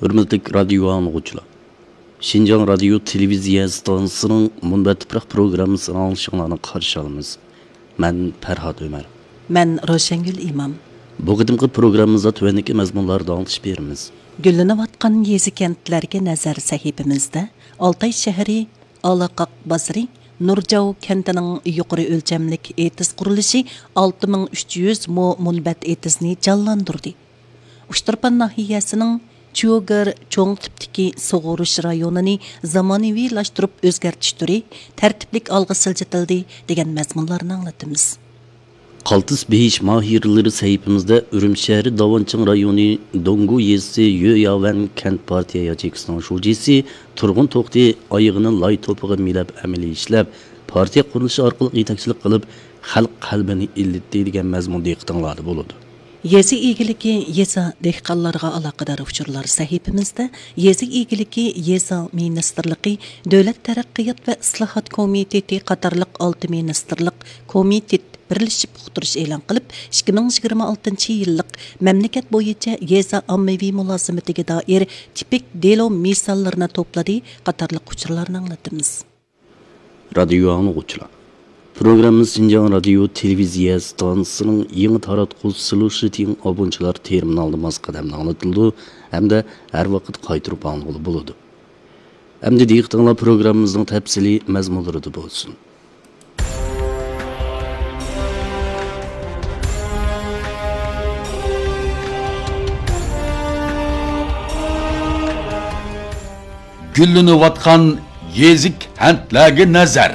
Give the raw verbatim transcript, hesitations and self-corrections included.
ھۆرمەتلىك رادىيو ئاڭلىغۇچىلار، شىنجاڭ رادىيو تېلېۋىزىيە ئىستانسىسىنىڭ مۇنبەت تۇپراق پروگراممىسىنى ئاڭلىشىڭلارنى قارشى ئالىمىز. مەن پەرھات ئۆمەر. مەن روشەنگۈل ئىمام. بۇ قېتىمقى پروگراممىمىزدا تۆۋەندىكى مەزمۇنلاردا ئاڭلىتىش بېرىمىز. گۈللىنىۋاتقان يېزا-كەنتلەرگە نەزەر سەھىپىمىزدە ئالتاي شەھىرى، ئالاقاق بازىرى، نۇرجاۋ كەنتىنىڭ يۇقىرى ئۆلچەملىك ئېتىز قۇرۇلۇشى ئالتە مىڭ ئۈچ يۈز مو مۇنبەت ئېتىزنى جانلاندۇردى. ئۇچتۇرپان ناھىيەسىنىڭ چيۇگېر چوڭ تىپتىكى سۇغۇرۇش رايونىنى زامانىۋىلاشتۇرۇپ ئۆزگەرتىش تۈرى تەرتىپلىك ئالغا سىلجىتىلدى، دېگەن مەزمۇنلارنى ئاڭلىتىمىز. قالتىس بېيىش ماھىرلىرى سەھىپىمىزدە ئۈرۈمچى شەھىرى داۋانچىڭ رايونى دونگۇ يېزىسى يۆياۋەن كەنت پارتىيە ياچېيكىسىنىڭ شۇجىسى تۇرغۇن توختى ئايىغىنى لاي توپىغا مىلەپ ئەمەلىي ئىشلەپ، پارتىيە قۇرۇلۇشى ئارقىلىق يېتەكچىلىك قىلىپ، خەلق قەلبىنى ئىللىتتى، دېگەن مەزمۇن دىققىتىڭلاردا بولىدۇ. يېزا ئىگىلىكى، يېزا دېھقانلارغا ئالاقىدار ئۇچۇرلار سەھىپىمىزدە يېزا ئىگىلىكى، يېزا مىنىستىرلىقى، دۆلەت تەرەققىيات ۋە ئىسلاھات كومىتېتى قاتارلىق ئالتە مىنىستىرلىق كومىتېت بىرلىشىپ ئۇقتۇرۇش ئېلان قىلىپ، ئىككى مىڭ يىگىرمە ئالتىنچى يىللىق مەملىكەت بويىچە يېزا ئاممىۋى مۇلازىمىتىگە دائىر تىپىك دېلو مىساللىرىنى توپلىدى قاتارلىق ئۇچۇرلارنى ئاڭلىتىمىز. رادىيو ئاڭلىغۇچىلار، پروگراممىمىز شىنجاڭ رادىيو تېلېۋىزىيە ئىستانسىسىنىڭ يېڭى تاراتقۇ سلۇشىتىڭ ئابونچىلار تېرمىنالىدا ماس قەدەمدە ئاڭلىتىلىدۇ ھەمدە ھەر ۋاقىت قايتۇرۇپ ئاڭلىغىلى بولىدۇ. ئەمدى دىققىتىڭلار پروگراممىمىزنىڭ تەپسىلىي مەزمۇنلىرىدا بولسۇن. گۈللىنىۋاتقان يېزا كەنتلەرگە نەزەر.